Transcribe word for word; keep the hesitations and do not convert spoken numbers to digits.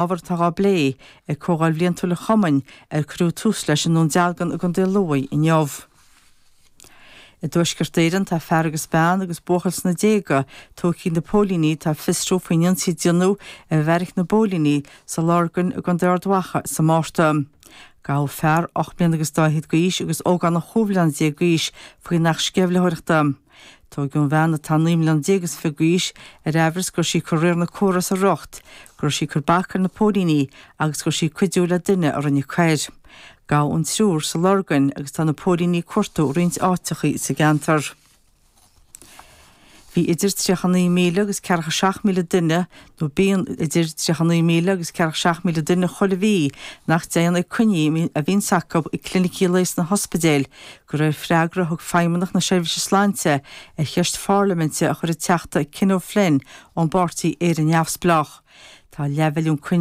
Ábhar atá á bplé ag Comhdháil Bhliantúil an Chumainn ar cuireadh tús leis i nDún Dealgan i gContae Lú inniu. I dTuaisceart Éireann tá fear agus bean agus buachaill sna déaga tógtha ag na póilíní atá ag fiosrú faoin ionsaí a déanadh ar bheairic na bpóilíní sa Lorgain i gContae Ard Mhacha sa Márta. Gabhadh fear ocht mbliana agus dá fhichead d'aois agus ógánach chúig bhliana déag d'aois faoin Acht Sceimhlitheoireachta. Tógadh an bhean atá naoi mbliana déag is fiche d'aois ar aimhreas go raibh sí ag cur riar na córa as a riocht, go raibh sí ag cur bac ar na póilíní agus go raibh sí ag cuidiú le duine a rinne coir. Gabhadh an triúr sa Lorgain agus tá na póilíní ag cuartú roinnt áiteachaí sa gceantar. Bhí idir tríocha naoi míle agus ceathracha seacht míle duine nó bíonn idir tríocha naoi míle agus ceathracha seacht míle duine chuile mhí nach dtéann ag coinní a bhíonns acu ag clinicí lae sna hospidéil, de réir freagra a thug Feidhmeannacht na Seirbhíse Sláinte ar cheist pharlaiminte a chuir an Teachta Ken O'Flynn ón bpáirtí Éire Neamhspleách. Tá leathmhilliún coinne